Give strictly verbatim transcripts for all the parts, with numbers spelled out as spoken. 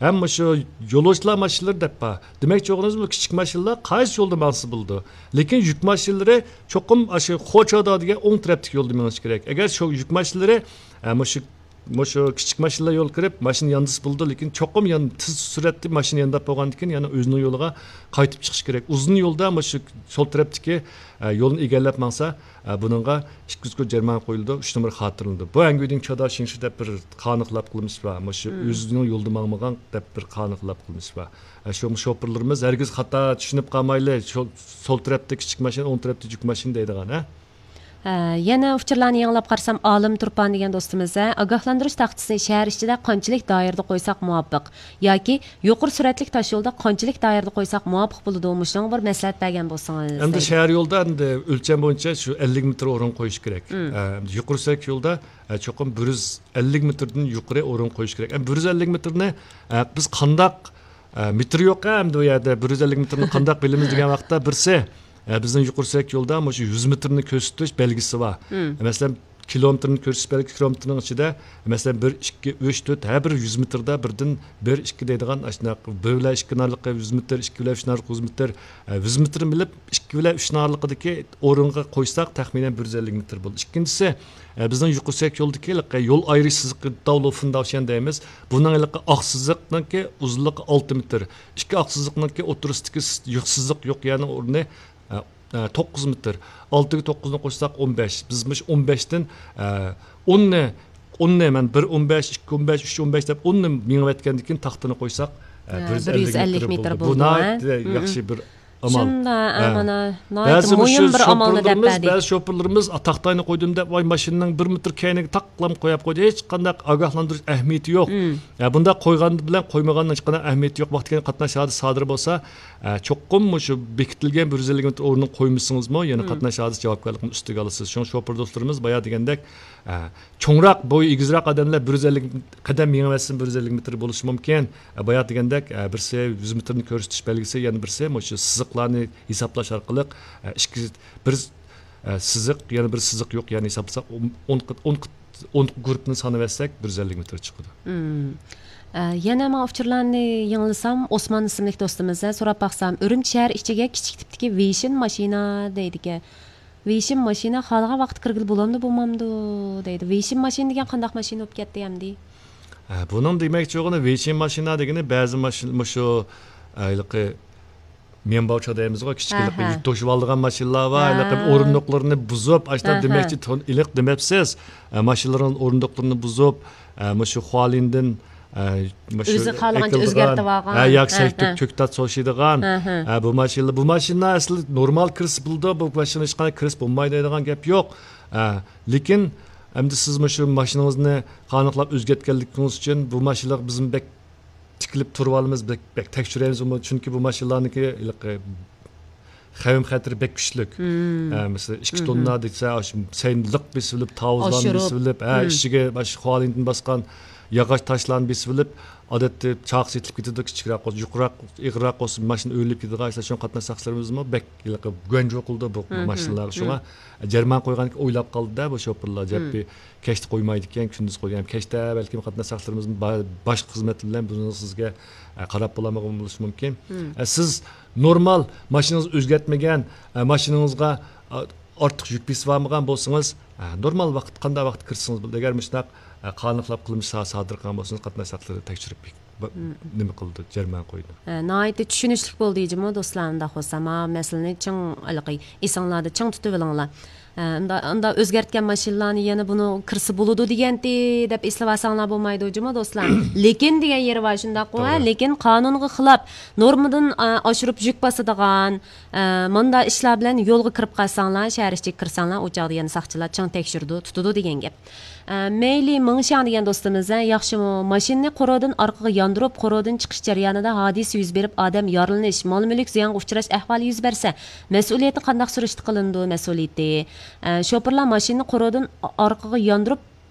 ھەم مۇشۇ يولۇچىلار ماشىنىلىرى دەپ بار. دېمەكچى بولغىنىمىز، بۇ كىچىك ماشىنىلار قايسى يولدا ماڭسا بولىدۇ. لېكىن يۈك ماشىنىلىرى چوقۇم ئاشۇ خوچادا دېگەن ئوڭ تەرەپتىكى يولدا مېڭىشى كېرەك. ئەگەر شۇ يۈك ماشىنىلىرى، ئە، مۇشۇ، مۇشۇ كىچىك ماشىنىلار يول كىرىپ، ماشىنا ياندىسا بولىدۇ، لېكىن چوقۇم يان-، تېز سۈرئەتتە ماشىنا يانداپ بولغاندىن كېيىن يەنە ئۆزىنىڭ يولىغا قايتىپ چىقىش كېرەك. ئۇزۇن يولدا مۇشۇ سول تەرەپتىكى، ئە، يولنى ئىگىلەپ ماڭسا، ئە، بۇنىڭغا ئىككى يۈز كوي جەرىمانە قويۇلىدۇ، ئۈچ نومۇر خاتىرىلىنىدۇ. بۇ ئەنگۈدىن چادا شىڭشى دەپ بىر قانۇن خىلاپ قىلمىشى بار. مۇشۇ ئۆزىنىڭ يولىدا ماڭمىغان دەپ بىر قانۇن خىلاپ قىلمىشى بار. ئە، شۇ شوپۇرلىرىمىز ھەرگىز خاتا چۈشىنىپ قالمايلى، شول، سول تەرەپتە كىچىك ماشىنا، ئوڭ تەرەپتە يۈك ماشىنا دەيدىغان، ھە؟ ھە، يەنە ئۇچۇرلارنى يېڭىلاپ قارىسام، ئالىم تۇرپان دېگەن دوستىمىز، ھە، ئاگاھلاندۇرۇش تاختىسىنى شەھەر ئىچىدە قانچىلىك دائىرىدە قويساق مۇۋاپىق ياكى يۇقىرى سۈرئەتلىك تاشيولدا قانچىلىك دائىرىدە قويساق مۇۋاپىق بولىدۇ؟ مۇشۇنىڭغا بىر مەسلىھەت بەرگەن بولسىڭىز ئەمدى دەيدۇ. شەھەر يولدا ئەمدى ئۆلچەم بويىچە شۇ ئەللىك مېتىر ئورۇن قويۇش كېرەك. ئە، يۇقىرى سۈرئەتلىك يولدا، ئە، چوقۇم بىر يۈز ئەللىك مېتىردىن يۇقىرى ئورۇن قويۇش كېرەك. ئە، بىر يۈز ئەللىك مېتىرنى، ئە، بىز قانداق، ئە، مېتىر يوق، ئە، ئەمدى ئۇ يەردە بىر يۈز ئەللىك مېتىرنى قانداق بىلىمىز دېگەن ۋاقىتتا، بىرسى، ئە، بىزنىڭ يۇقىرى سۈرئەتلىك يولدا مۇشۇ يۈز مېتىرنى كۆرسىتىش بەلگىسى بار. مەسىلەن، كىلومېتىرنى كۆرسىتىش بەلگىسى، كىلومېتىرنىڭ ئىچىدە، مەسىلەن، بىر، ئىككى، ئۈچ، تۆت، ھەر بىر يۈز مېتىردا بىردىن بىر، ئىككى دەيدىغان، ئاشۇنداق بىر بىلەن ئىككى ئارىلىقى يۈز مېتىر، ئىككى بىلەن ئۈچ ئارىلىقى يۈز مېتىر، ئە، يۈز مېتىرنى بىلىپ، ئىككى بىلەن ئۈچ ئارىلىقىدىكى ئورۇنغا قويساق، تەخمىنەن بىر يۈز ئەللىك مېتىر بولىدۇ. ئىككىنچىسى، ئە، بىزنىڭ يۇقىرى سۈرئەتلىك يولدىكى ھېلىقى يول ئايرىش سىزىقى، داۋلۇ فۇنداۋشيەن دەيمىز. بۇنىڭ ھېلىقى ئاق سىزىقنىڭكى ئۇزۇنلۇقى ئالتە مېتىر، ئىككى ئاق سىزىقنىڭكى ئوتتۇرىسىدىكى س-، يوق سىزىق يوق يەرنىڭ ئورنى، ئە، ئە، توققۇز مېتىر. ئالتىگە توققۇزنى قوشساق، ئون بەش. بىز مۇشۇ ئون بەشتىن، ئە، ئوننى، ئوننى مەن بىر ئون بەش، ئىككى ئون بەش، ئۈچ ئون بەش دەپ ئوننى مېڭىۋەتكەندىن كېيىن تاختىنى قويساق، ئە، ھە، بىر يۈز ئەللىك مېتىر بولىدۇ. بۇ ناھايىتى ياخشى بىر ئامال. شۇنداق، ھە. مانا ناھايىتى مۇھىم بىر ئامالنى دەپ بەردى. بەزى شوپۇرلىرىمىز، ئە، تاختاينى قويدۇم دەپ، ۋاي، ماشىنىنىڭ بىر مېتىر كەينىگە تاقلام قويۇپ قويدى، ھېچقانداق ئاگاھلاندۇرۇش ئەھمىيىتى يوق. ئە، بۇنداق قويغان بىلەن قويمىغاننىڭ ھېچقانداق ئەھمىيىتى يوق. ۋاقتى كەلگەن قاتناش ھادىسىسى سادىر بولسا، ئە، چوقۇم مۇشۇ بېكىتىلگەن بىر يۈز ئەللىك مېتىر ئورنىنى قويمىسىڭىزمۇ، يەنە قاتناش ھادىسىسى جاۋابكارلىقىنى ئۈستىگە ئالىسىز. شۇڭا شوپۇر دوستلىرىمىز بايا دېگەندەك، ئە، چوڭراق، بويى ئېگىزراق ئادەملەر بىر يۈز ئەللىك قەدەم مېڭىۋەتسىمۇ، بىر يۈز ئەللىك مېتىر بولۇشى مۇمكىن. ئە، بايا دېگەندەك، ئە، بىرسى يۈز مېتىرنى كۆرسىتىش بەلگىسى، يەنە بىرسى مۇشۇ سىزىقلارنى ھېسابلاش ئارقىلىق، ئە، ئىككى، بىر، ئە، سىزىق، يەنە بىر سىزىق يوق، يەنى ھېسابلىساق، ئون، ئون، ئون، ئون گۇرۇپپىنى سانىۋەتسەك، بىر يۈز ئەللىك مېتىر چىقىدۇ. مم. ئە، يەنە ماڭا ئۇچۇرلارنى يېڭىلىسام، ئوسمان ئىسىملىك دوستىمىز، ھە، سوراپ باقسام، ئۈرۈمچى شەھەر ئىچىگە كىچىك تىپتىكى ۋېيشىن ماشىنا دەيدىكەن. ۋېيشىن ماشىنا خالىغان ۋاقىتتا كىرگىلى بولامدۇ، بولمامدۇ دەيدۇ. ۋېيشىن ماشىنا دېگەن قانداق ماشىنا بولۇپ كەتتى ئەمدى؟ ھە، بۇنىڭ دېمەكچى بولغىنى، ۋېيشىن ماشىنا دېگىنى بەزى ماشىنا، مۇشۇ، ھېلىقى ميەنباۋچا دەيمىزغۇ، كىچىككىنىلىك يۈك توشۇۋالىدىغان ماشىنىلار بار، ھېلىقى ئورۇندۇقلىرىنى بۇزۇپ، ئاشۇنداق دېمەكچى، تون ئېلىق دېمەپسىز. ئە، ماشىنىلارنىڭ ئورۇندۇقلىرىنى بۇزۇپ، ئە، مۇشۇ خۇالىندىن، ئە، مۇشۇ ئۆزى خالىغانچە ئۆزگەرتىۋالغان. ھە، ياكى سەي تۆك، كۆكتات سوشىدىغان. ھە، بۇ ماشىنىلار، بۇ ماشىنىلار ئەسلى نورمال كىرسە بولىدۇ، بۇ ماشىنا ھېچقانداق كىرسە بولمايدۇ دەيدىغان گەپ يوق. ئە، لېكىن ئەمدى سىز مۇشۇ ماشىنىڭىزنى قانۇنلۇق ئۆزگەرتكەنلىكىڭىز ئۈچۈن بۇ ماشىنىلارغا بىزمۇ بەك تىكىلىپ تۇرۇۋالىمىز، بەك، بەك تەكشۈرەيمىز، چۈنكى بۇ ماشىنىلارنىڭكى ھېلىقى خەۋپ خەتىرى بەك كۈچلۈك. ئە، مەسىلەن، ئىككى توننا دېسە، ئاشۇ سەينى لىق بېسىۋېلىپ، تاۋۇزلارنى بېسىۋېلىپ، ئە، ئىچىگە ئاشۇ خۇالىندىن باسقان ياغاچ تاشلارنى بېسىۋېلىپ، ئادەتتە چاقىسى يېتىلىپ كېتىدۇ، كىچىكرەك بولسا، يۇقىرىراق، ئېغىرراق بولسا، ماشىنا ئۆرۈلۈپ كېتىدىغان ئىشلار. شۇڭا قاتناش ساقچىلىرىمىزمۇ بەك ھېلىقى گۇەنجۇ قىلىدۇ بۇ ماشىنىلارغا. شۇڭا جەرىمانە قويغاندىكىن ئويلاپ قالدى-دە بۇ شوپۇرلار. جەپپى كەچتە قويمايدىكەن، كۈندۈز قويغان. كەچتە بەلكىم قاتناش ساقچىلىرىمىز با-، باشقا خىزمەت بىلەن بۇنى سىزگە، ئە، قاراپ بولالمىغان بولۇشى مۇمكىن. ئە، سىز نورمال ماشىنىڭىزنى ئۆزگەرتمىگەن، ئە، ماشىنىڭىزغا، ئا، ئارتۇق يۈك بېسىۋالمىغان بولسىڭىز، ئە، نورمال ۋاقىت، قانداق ۋاقىت كىرسىڭىز بولىدۇ. ئەگەر مۇشۇنداق، ئە، قانۇنلۇق قىلمىش سا-، سادىر قىلغان بولسىڭىز، قاتناش ساقچىلىرى تەكشۈرۈپ بېقىپ، نېمە قىلىدۇ، جەرىمانە قويىدۇ. ھە، ناھايىتى چۈشىنىشلىك بولدى جۇمۇ دوستلار، ئۇنداق بولسا. ماۋۇ مەسىلىنى چىڭ، ھېلىقى ئېسىڭلاردا چىڭ تۇتۇۋېلىڭلار. ھە، ئۇندا-، ئۇنداق ئۆزگەرتكەن ماشىنىلارنى يەنە بۇنى كىرسە بولىدۇ دېگەنتى دەپ ئېسلىۋالساڭلار بولمايدۇ جۇمۇ دوستلار. لېكىن دېگەن يېرى بار، شۇنداققۇ، ھە؟ توغرا. لېكىن قانۇنغا خىلاپ، نورمىدىن، ئا، ئاشۇرۇپ يۈك باسىدىغان، ئە، مۇنداق ئىشلار بىلەن يولغا كىرىپ قالساڭلار، شەھەر ئىچىگە كىرسەڭلار، ئۇ چاغدا يەنە ساقچىلار چىڭ تەكشۈرىدۇ، تۇتىدۇ دېگەن گەپ. ئە، مەيلى مىڭشياڭ دېگەن دوستىمىز، ھە، ياخشىمۇ؟ ماشىنىنى قورۇدىن ئارقىغا ياندۇرۇپ، قورۇدىن چىقىش جەريانىدا ھادىسە يۈز بېرىپ، ئادەم يارىلىنىش، مال-مۈلۈك زىيانغا ئۇچراش ئەھۋالى يۈز بەرسە، مەسئۇلىيىتى قانداق سۈرۈشتە قىلىنىدۇ؟ مەسئۇلىيىتى، ئە، شوپۇرلار ماشىنىنى قورۇدىن ئا-، ئارقىغا ياندۇرۇپ،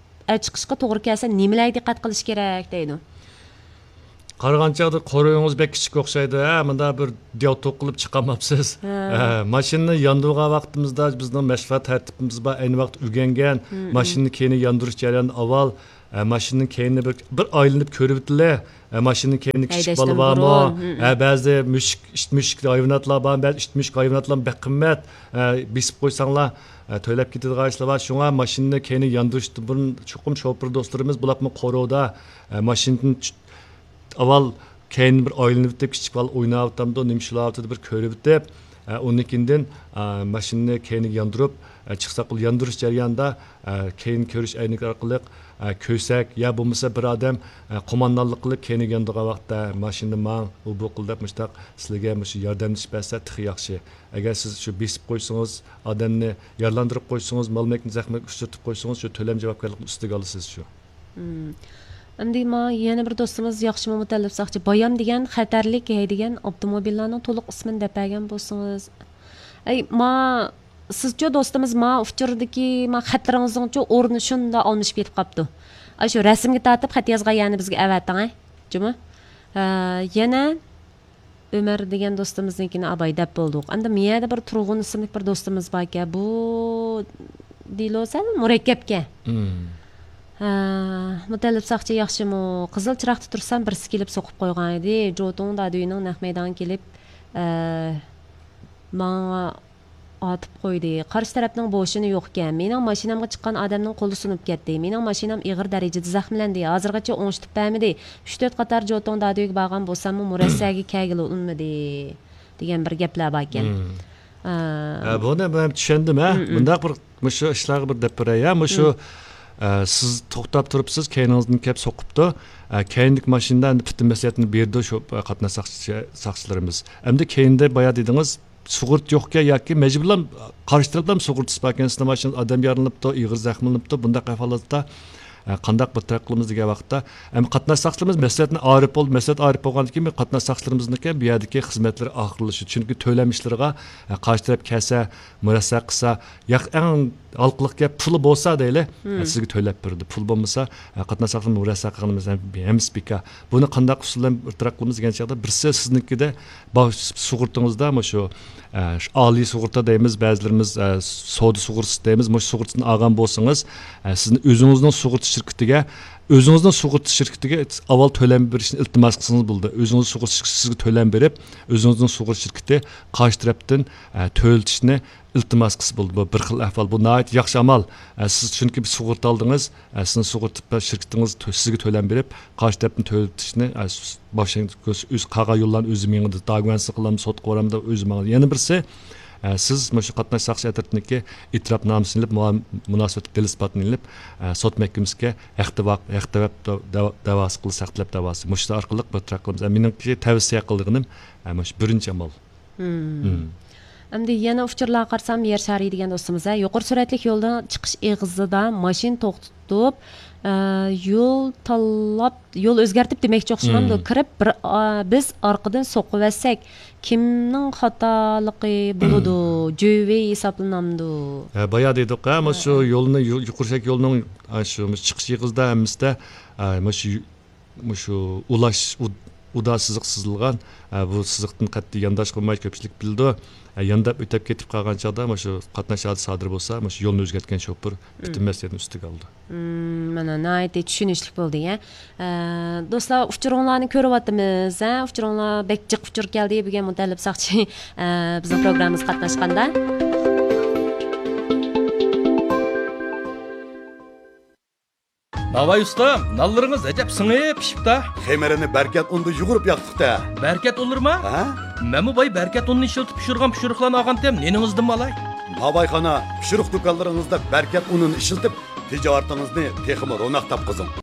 ئە، چىقىشقا توغرا كەلسە، نېمىلەرگە دىققەت قىلىش كېرەك دەيدۇ؟ قارىغان چاغدا قورۇيىڭىز بەك كىچىك ئوخشايدۇ، ھە، مۇنداق بىر دىياۋتوق قىلىپ چىقالماپسىز. ھە. ھە، ماشىنىنى ياندۇرغان ۋاقتىمىزدا بىزنىڭ مەشغۇلات تەرتىپىمىز بار، ئەينى ۋاقىت ئۆگەنگەن، ماشىنىنى كەينى ياندۇرۇش جەريانىدا ئاۋۋال، ئە، ماشىنىنىڭ كەينىنى بىر، بىر ئايلىنىپ كۆرۈۋېتىلە. ئە، ماشىنىنىڭ كەينىدە كىچىك بالا بارمۇ؟ ھە، بەزى مۈشۈك، ئىت مۈشۈك ھايۋاناتلار بار، بەزى ئىت مۈشۈك ھايۋاناتلار بەك قىممەت. ئە، بېسىپ قويساڭلار، ئە، تۆلەپ كېتىدىغان ئىشلار بار. شۇڭا ماشىنىنى كەينىگە ياندۇرۇشتىن بۇرۇن چوقۇم شوپۇر دوستلىرىمىز، بۇلارمۇ قورۇدا، ئە، ماشىنىدىن چۈ-، ئاۋۋال كەينىدىن بىر ئايلىنىۋېتىپ، كىچىك بالا ئويناۋاتامدۇ، نېمە ئىشلەۋاتىدۇ، بىر كۆرۈۋېتىپ، ئە، ئۇنىڭ كېيىندىن، ئە، ماشىنىنى كەينىگە ياندۇرۇپ، ئە، چىقساق بولىدۇ. ياندۇرۇش جەريانىدا، ئە، كەينى كۆرۈش ئەينىكى ئارقىلىق، ئە، كۆرسەك يا بولمىسا بىر ئادەم، ئە، قوماندانلىق قىلىپ كەينىگە ياندۇرغان ۋاقىتتا، ماشىنىنى ماڭ، ئۇ بۇ قىل دەپ مۇشۇنداق سىلىگە مۇشۇ ياردەملىشىپ بەرسە تېخى ياخشى. ئەگەر سىز شۇ بېسىپ قويسىڭىز، ئادەمنى يارىلاندۇرۇپ قويسىڭىز، مال مۈلۈكنى زەخمەتكە ئۇچرىتىپ قويسىڭىز، شۇ تۆلەم جاۋابكارلىقىنى ئۈستىگە ئالىسىز شۇ. مم. ئەمدى ما يەنە بىر دوستىمىز ياخشىمۇ مۇتەللىپ ساقچى، بايام دېگەن خەتەرلىك ھەي دېگەن ئاپتوموبىللارنىڭ تولۇق ئىسمىنى دەپ بەرگەن بولسىڭىز. ئەي، ما سىزچۇ دوستىمىز، ما ئۇچۇردىكى ما خەتلىرىڭىزنىڭچۇ ئورنى شۇنداق ئالمىشىپ كېتىپ قاپتۇ. ئاي، شۇ رەسىمگە تارتىپ خەت يازغان يەرنى بىزگە ئەۋەتىڭ، ھە. جۇمۇ. ھە، يەنە ئۆمەر دېگەن دوستىمىزنىڭكىنى ئاباي دەپ بولدۇق. ئەمدى مۇ يەردە بىر تۇرغۇن ئىسىملىك بىر دوستىمىز باركەن. بۇ دېلو سەل مۇرەككەپكەن. مم. ھە، مۇتەللىپ ساقچى ياخشىمۇ؟ قىزىل چىراغدا تۇرسام، بىرسى كېلىپ سوقۇپ قويغان ئىدى. جوتۇڭ دادۈينىڭ نەق مەيدانغا كېلىپ، ئە، ماڭا ئاتىپ قويدى. قارشى تەرەپنىڭ بوشىنى يوقكەن. مېنىڭ ماشىنامغا چىققان ئادەمنىڭ قولى سۇنۇپ كەتتى. مېنىڭ ماشىنام ئېغىر دەرىجىدە زەخىملەندى. ھازىرغىچە ئوڭشىتىپ بەرمىدى. ئۈچ تۆت قاتار جوتۇڭ دادۈيگە بارغان بولساممۇ، مۇرەسسەگە كەلگىلى ئۇنىمىدى، دېگەن بىر گەپلەر باركەن. مم. ئا. ھە، بۇنى مەن چۈشەندىم، ھە. مم، مم. مۇنداق بىر، مۇشۇ ئىشلارغا بىر دەپ بېرەي، ھە. مۇشۇ، مم. ئە، سىز توختاپ تۇرۇپسىز، كەينىڭىزدىن كەپ سوقۇپتۇ. ئە، كەينىدىكى ماشىنىدا ئەمدى پۈتۈن مەسلىھەتنى بېرىدۇ شۇ، ئە، قاتناش ساقچى-، ساقچىلىرىمىز. ئەمدى كەينىدە بايا دېدىڭىز، سۇغۇرتا يوقكەن ياكى مەجبۇرلام قارشى تەرەپلەم سۇغۇرتىسى باركەن، سىزنىڭ ماشىنىڭىز ئادەم يارىلىنىپتۇ، ئېغىر زەخىملىنىپتۇ، بۇنداق ئەھۋالاتتا، ئە، قانداق بىر تەرەپ قىلىمىز دېگەن ۋاقىتتا، ئەمدى قاتناش ساقچىلىرىمىز مەسلىھەتنى ئارىپ بولدى، مەسلىھەت ئارىپ بولغاندىن كېيىن قاتناش ساقچىلىرىمىزنىڭكى بۇ يەردىكى خىزمەتلىرى ئاخىرلىشىدۇ. چۈنكى تۆلەم ئىشلىرىغا، ئە، قارشى تەرەپ كەلسە، مۇرەسسە قىلسا، ياق، ئەڭ ھالقىلىق گەپ پۇلى بولسا دەيلى، مم. ئە، سىزگە تۆلەپ بېرىدۇ. پۇل بولمىسا، ئە، قاتناش ساقچىلىرىمىز مۇرەسسە قىلغىنىمىز ھەم-، ھەممىسى بىكار. بۇنى قانداق ئۇسۇل بىلەن بىر تەرەپ قىلىمىز دېگەن چاغدا، بىرسى سىزنىڭكىدە بار سۇغۇرتىڭىزدا مۇشۇ، ئە، شۇ ئالىي سۇغۇرتا دەيمىز، بەزىلىرىمىز، ئە، سودا سۇغۇرتىسى دەيمىز، مۇشۇ سۇغۇرتىسىنى ئالغان بولسىڭىز، ئە، سىزنى ئۆزىڭىزنىڭ سۇغۇرتا شىركىتىگە، ئۆزىڭىزنىڭ سۇغۇرتا شىركىتىگە ئاۋۋال تۆلەم بېرىشنى ئىلتىماس قىلسىڭىز بولىدۇ. ئۆزىڭىزنىڭ سۇغۇرتا شىركىتى سىزگە تۆلەم بېرىپ، ئۆزىڭىزنىڭ سۇغۇرتا شىركىتى قارشى تەرەپتىن، ئە، تۆلىتىشنى ئىلتىماس قىلسا بولىدۇ. بۇ بىر خىل ئەھۋال. بۇ ناھايىتى ياخشى ئامال. ئە، سىز چۈنكى بىر سۇغۇرتا ئالدىڭىز، ئە، سىزنىڭ سۇغۇرتا شىركىتىڭىز تۆ-، سىزگە تۆلەم بېرىپ، قارشى تەرەپتىن تۆلىتىشنى، ئە، س-، باشلىنىش ئۆز قالغان يوللارنى ئۆزى مېڭىدۇ. داگۇەنسى قىلامدۇ، سوتقا بارامدۇ، ئۆزى ماڭىدۇ. يەنە بىرسى، ئە، سىز مۇشۇ قاتناش ساقچى ئەترىتىنىڭكى ئېتىراپنامىسىنى ئېلىپ، مۇ-، مۇناسىۋەتلىك دېلو ئىسپاتىنى ئېلىپ، ئە، سوت مەھكىمىسىگە ھەق دەۋا-، ھەق تەلەپ دە-، دەۋا-، دەۋاسى قىلىسىز، ھەق تەلەپ دەۋاسى. مۇشۇ ئارقىلىق بىر تەرەپ قىلىمىز. ئە، مېنىڭكى تەۋسىيە قىلىدىغىنىم، ئە، مۇشۇ بىرىنچى ئامال. مم. مم. ئەمدى يەنە ئۇچۇرلارغا قارىسام، يەر شارى دېگەن دوستىمىز، ھە، يۇقىرى سۈرئەتلىك يولدا چىقىش ئېغىزىدا ماشىنا توختىتىپ، ئە، يول تاللاپ، يول ئۆزگەرتىپ دېمەكچى ئوخشىمامدۇ؟ مم. كىرىپ، بىر، ئا، بىز ئارقىدىن سوقۇۋەتسەك، كىمنىڭ خاتالىقى بولىدۇ؟ جۆۋېي ھېسابلىنامدۇ؟ ھە، بايا دېدۇق، ھە، مانا شۇ ھە. يولنى، يۇ-، يۇقىرى سۈرئەتلىك يولنىڭ، ئا، شۇ چىقىش ئېغىزىدا ھەممىسىدە، ئا، مانا شۇ مۇشۇ ئۇلاش ئۇ-، ئۇدا سىزىق سىزىلغان، ئە، بۇ سىزىقتىن قەتئىي يانداش قىلماي كۆپچىلىك بىلىدۇ. ئە، يانداپ ئۆتۈپ كېتىپ قالغان چاغدا مۇشۇ قاتناش ھادىسە سادىر بولسا، مۇشۇ يولنى ئۆزگەرتكەن شوپۇر پۈتۈن مم. مەسئۇلىيەتنى ئۈستىگە ئالىدۇ. مم، مانا ناھايىتى چۈشىنىشلىك بولدى، يە. ئە، دوستلار، ئۇچۇرۇڭلارنى كۆرۈۋاتىمىز، ھە؟ ئۇچۇرۇڭلار بەك جىق ئۇچۇر كەلدى. بۈگۈن مۇتەللىپ ساقچى، ئە، بىزنىڭ پروگراممىمىزغا قاتناشقاندا. ناۋاي ئۇستام، نانلىرىڭىز ئەجەب سىڭىپ پىشىپتا. خېمىرىنى بەركەت ئۇندا يۇغۇرۇپ ياقتۇقتا. بەركەت ئۇنلىرىما؟ ھە؟ مەنمۇ باي بەركەت ئۇنىنى ئىشلىتىپ پىشۇرغان پىشۇرۇقلارنى ئالغانتىم، نېنىڭىزدىنمۇ ئالاي؟ ناۋايخانا، پىشۇرۇق دۇكانلىرىڭىزدا بەركەت ئۇنىنى ئىشلىتىپ، تىجارىتىڭىزنى تېخىمۇ روناق تاپقۇزۇڭ.